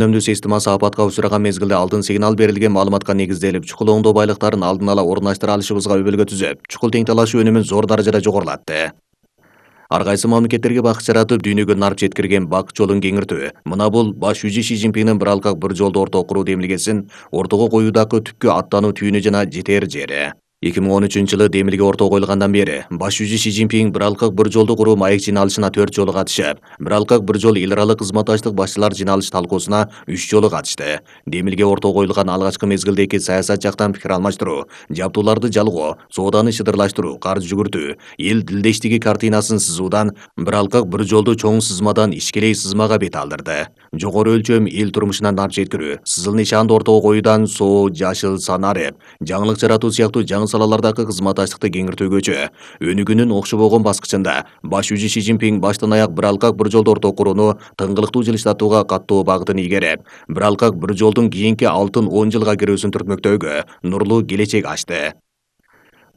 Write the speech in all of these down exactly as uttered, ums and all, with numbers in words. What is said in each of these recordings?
Өнөмдүү системасы апатка учураган мезгилде алдын сигнал берилген маалыматка негизделип, чукул оңдоо байлыктарын алдын ала орундаштыра алышыбызга өбөлгө түзөп, чукул тең талашуу өнүмүн зор даражада жогорулатты. Ар кайсы мамлекеттерге бак жаратып, дүйнөгө нарп жеткирген бак жолун кеңиртүү. Мына бул баш жүзү Ши Цзиньпиндин бир алкак бир жолду орто куруу демилгесин ортого коюудагы түпкү аттануу түйүнү жана жетер жери. эки миң он үчүнчү жылы демилге ортого коюлгандан бери баш жүзү Ши Цзиньпин бир алкак бир жолду куруу маек жыйналышына төрт жолу катышып, бир алкак бир жол эл аралык кызматташтык башчылар жыйналыш талкуусуна үч жолу катышты. Демилге ортого коюлган алгачкы мезгилдеги саясат жактан пикир алмаштыруу, жабдууларды жалгоо, сооданы шыдырлаштыруу, карыз жүгүртүү, эл дилдештиги картинасын сызуудан бир алкак бир жолду чоң сызмадан ичкилей сызмага бет алдырды. Жогору өлчөм эл турмушуна нарп жеткирүү, сызыл нишанды ортого коюудан соо, жашыл, санарип, жаңылык жаратуу сыяктуу жаңы салалардагы кызматташтыкты кеңиртүүгөчө өнүгүүнүн окшобогон баскычында баш жүзү Ши Цзиньпин баштан аяк бир алкак бир жолду ортого курууну тыңгылыктуу жылыштатууга каттуу багытын ийгереп, бир алкак бир жолдун кийинки алтын он жылга кирүүсүн түртмөктөөгө нурлуу келечек ачты.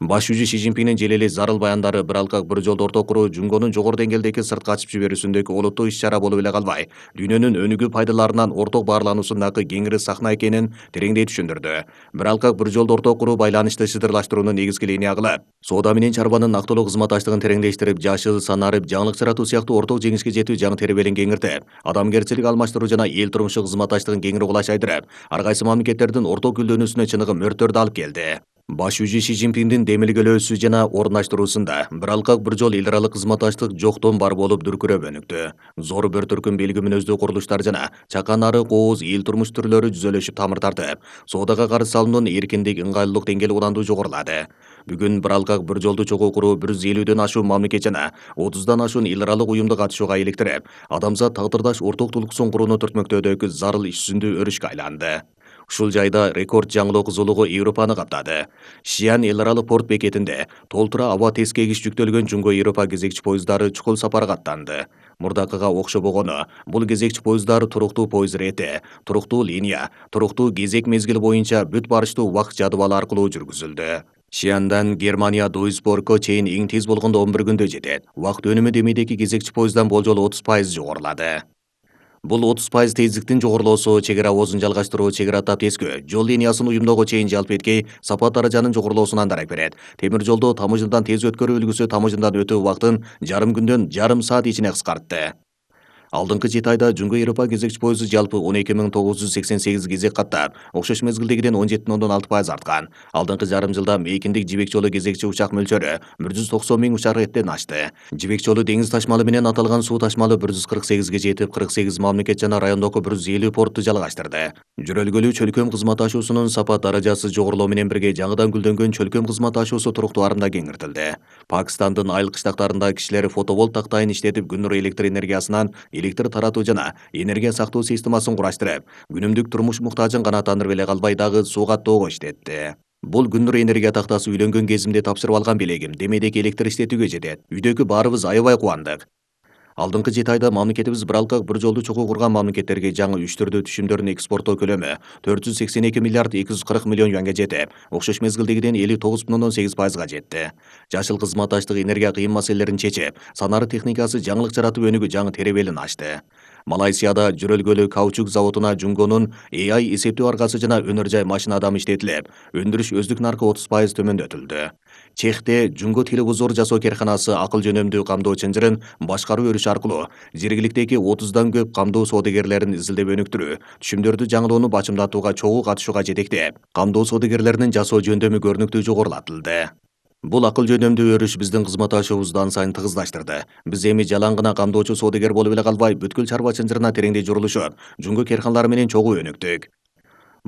Баш жүзү Ши Цзиньпиндин желели зарыл баяндары бир алкак бир жолду орто куруу Жунгонун жогору деңгээлдеги сыртка ачып жиберүүсүндөгү олуттуу иш-чара болуп эле калбай, дүйнөнүн өнүгүү пайдаларынан орток баарлануусундагы кеңири сахна экенин тереңдей түшүндүрдү. Бир алкак бир жолду орто куруу байланышты шыдырлаштырууну негизги линия кылып, соода менен чарбанын актылуу кызматташтыгын тереңдештирип, жашыл, санарип, жаңылык жаратуу сыяктуу орток жеңишке жетүү жаңы теребелин кеңиртип, адамгерчилик алмаштыруу жана эл турмушу кызматташтыгын кеңири кулачайдырып, ар кайсы мамлекеттердин орток гүлдөнүүсүнө чыныгы мөрттөрдү алып келди. Баш жүзү Ши Цзиньпиндин демилгелөөсү жана орундаштыруусунда бир алкак бир жол эл аралык кызматташтык жоктон бар болуп дүркүрөп өнүктү. Зор бир түркүм белги мүнөздүү курулуштар жана чакан ары кооз эл турмуш түрлөрү жүзөлөшүп тамыр тартып, соодага карыз салымдын эркиндик, ыңгайлуулук деңгээли уланду жогорулады. Бүгүн бир алкак бир жолду чогуу куруу бир жүз элүүдөн ашуун мамлекет жана отуздан ашуун эл аралык уюмду катышууга иликтирип, адамзат тагдырдаш орток тулкуусун курууну түртмөктөөдөгү зарыл иш жүзүндүү өрүшкө айланды. Ушул жайда рекорд жаңылоо кызуулугу Европаны каптады. Шиан эл аралык порт бекетинде толтура аба тескегич жүктөлгөн Жунго Европа кезекчи поезддары чукул сапарга аттанды. Мурдакыга окшобогону, бул кезекчи поезддар туруктуу поезд рети, туруктуу линия, туруктуу кезек мезгили боюнча бүт барыштуу убакыт жадыбалы аркылуу жүргүзүлдү. Шиандан Германия Дуйсбургко чейин эң тез болгондо он бир күндө жетет. Убакыт өнүмү демейдеги кезекчи поезддан болжол отуз пайыз жогорулады. Бул отуз пайыз тездиктин жогорулоосу чек ара оозун жалгаштыруу, чек ара тап тескөө, жол линиясын уюмдоого чейин жалп эткей сапат даражанын жогорулоосунан дарак берет. Темир жолду тамыжымдан тез өткөрүү үлгүсү тамыжымдан өтүү убактын жарым күндөн жарым саат ичине кыскартты. Алдыңкы жети айда Жунго Европа кезекчи поезду жалпы он эки миң тогуз жүз сексен сегиз кезек каттап, окшош мезгилдегиден он жети бүтүн ондон алты пайыз арткан. Алдыңкы жарым жылда мейкиндик жибек жолу кезекчи учак мөлчөрү бир жүз токсон миң учак реттен ашты. Жибек жолу деңиз ташмалы менен аталган суу ташмалы бир жүз кырк сегизге жетип, кырк сегиз мамлекет жана райондогу бир жүз элүү портту жалгаштырды. Жүрөлгөлүү чөлкөм кызматташуусунун сапат даражасы жогорулоо менен бирге жаңыдан гүлдөнгөн чөлкөм кызматташуусу туруктуу арымда кеңиртилди. Пакистандын айыл кыштактарында кишилер фотоволт тактайын иштетип күн электр энергиясынан электр таратуу жана энергия сактоо системасын кураштырып, күнүмдүк турмуш муктажын канааттандырып эле калбай дагы суу каттоого иштетти. Бул күн энергия тактасы үйлөнгөн кезимде тапшырып алган белегим, демейдеги электр иштетүүгө жетет. Үйдөгү баарыбыз аябай кубандык. Алдыңкы жети айда мамлекетибиз бир алкак бир жолду чогуу курган мамлекеттерге жаңы үч түрдүү түшүмдөрдүн экспорттоо көлөмү төрт жүз сексен эки миллиард эки жүз кырк миллион юанга жетип, окшош мезгилдегиден элүү тогуз бүтүн ондон сегиз пайызга жетти. Жашыл кызматташтык энергия кыйын маселелерин чечип, санары техникасы жаңылык жаратып өнүгүү жаңы теребелин ачты. Малайзияда жүрөлгөлүү каучук заводуна Жунгонун A I эсептөө аргасы жана өнөр жай машина адамы иштетилип, өндүрүш өздүк наркы отуз пайыз төмөндөтүлдү. Чехте Жунго телевизор жасоо керканасы акыл жөнөмдүү камдоо чынжырын башкаруу өрүшү аркылуу жергиликтеги отуздан көп камдоо соодагерлерин изилдеп өнүктүрүү, түшүмдөрдү жаңылоону бачымдатууга чогуу катышууга жетектеп, камдоо соодагерлеринин жасоо жөндөмү көрүнүктүү жогорулатылды. Бул акыл жөнөмдүү өрүш биздин кызматташуубузду ан сайын тыгыздаштырды. Биз эми жалаң гана камдоочу соодагер болуп эле калбай, бүткүл чарба чынжырына тереңдей журулушуп, Жунго керканалары менен чогуу өнүктүк.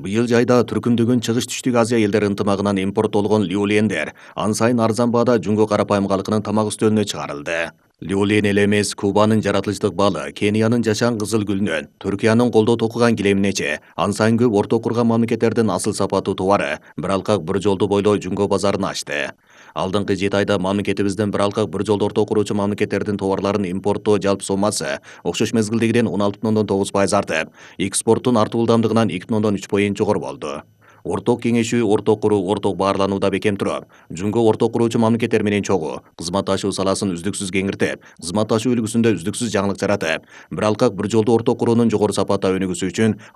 Быйыл жайда түркүмдөгөн чыгыш түштүк Азия элдери ынтымагынан импорттолгон люолендер ан сайын арзан баада Жунго карапайым калкынын тамак үстөлүнө чыгарылды. Люолен эле эмес, Кубанын жаратылыштык балы, Кениянын жашан кызыл гүлүнөн, Түркиянын колдоо токуган килеминече, ан сайын көп орто курган мамлекеттердин асыл сапаттуу товары бир алкак бир жолду бойлой Жунго базарын ачты. Алдыңкы жети айда мамлекетибиздин бир алкак бир жолду орто куруучу мамлекеттердин товарларын импорттоо жалпы соммасы окшош мезгилдегиден он алты бүтүн ондон тогуз пайыз артып, экспорттун артуу ылдамдыгынан эки бүтүн ондон үч поинт жогору болду. орток кеңешүү, орток куруу, орток баарланууда бекем туруп, жумго орток куруучу мамлекеттер менен чогуу, кызматташуу саласын үздүксүз кеңиртип, кызматташуу үлгүсүндө үздүксүз жаңылык жаратып, бир алкак бир жолду орток куруунун жогору сапатта өнүгүүсү үчүн